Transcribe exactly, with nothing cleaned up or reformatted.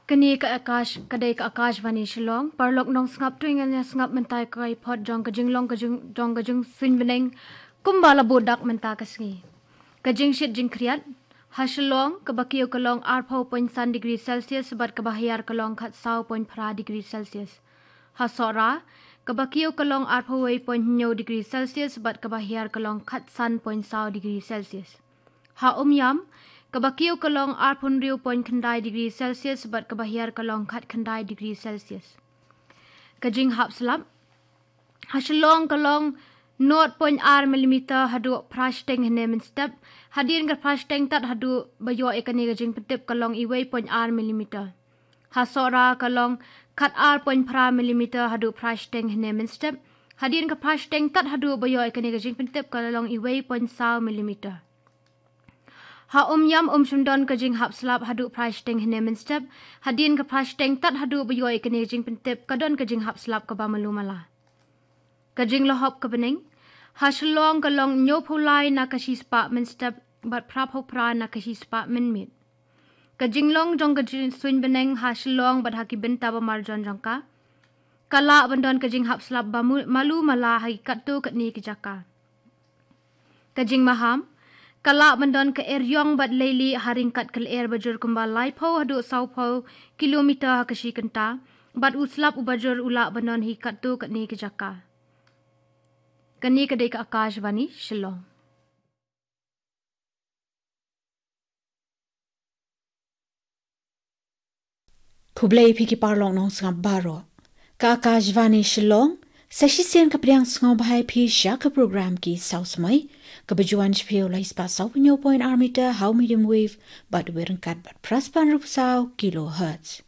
Kane ka Akash, ka dei ka Akashvani Shillong, paralok nongsngap, to ngin ïa sngap mynta ka report jong ka jinglong ka jing, jong ka jingsuiñ bneng kumba la bud dak mynta ka sngi. Ka jingshit jingkhriat, ha Shillong, kaba kiew ka long arphew point san degree Celsius, bad kaba hiar ka long khatsaw point phra degree Celsius. Ha Sohra, kaba kiew ka long arphew wei point hynñiew degree Celsius, bad kaba hiar ka long khatsan point saw degree Celsius. Ha Umiam, kaba kiew ka long arphew hynriew point khyndai degree Celsius, bad kaba hiar ka long khatkhyndai degree Celsius. Ka jinghap slap, ha Shillong ka long nought point ar millimeter haduh phra shiteng hynne mynstep, hadien ka phra shiteng tad haduh ba ïoh ïa kane ka jingpyntip ka long iwei point ar millimeter. Ha Sohra ka long khatar point phra millimeter haduh phra shiteng hynne mynstep, hadien ka phra shiteng tad haduh ba ïoh ïa kane ka jingpyntip ka long iwei point saw millimeter. Ha Umiam um shym don ka jinghap slap haduh phra shiteng hynne mynstep, hadien ka phra shiteng tad haduh ba ïoh ïa kane ka jingpyntip ka don ka jinghap slap kaba malu mala. Ka jinglahop ka bneng, ha Shillong ka long hynñiewphew lai na ka shispah mynstep, bad phraphew phra na ka shispah mynmiet. Ka jinglong jong ka jingsuiñ bneng ha Shillong bad ha ki bynta ba marjan jong ka, ka lah ban don ka jinghap slap ba mu-, malu mala ha ki katto katne ki jaka. Ka jingmaham, ka lah ban don ka eriong bad leilieh ha ryngkat ka lyer bajur kumba laiphew haduh sawphew kilometer ha ka shi kynta, bad u slap u bajur u lah ban don ha ki katto katne ki jaka. Kane ka dei ka Akashvani Shillong. Khublei phi ki paralok nongsngap baroh. Ka Akashvani Shillong, sa shisien ka pdiang sngewbha ïa phi sha ka program Ki Saw Samoi, kaba ju wan sha phi ha u lai spah sawphew hynñiew point ar meter ha u medium wave, bad u ryngkat bad phra spah hynriewphew saw kilohertz.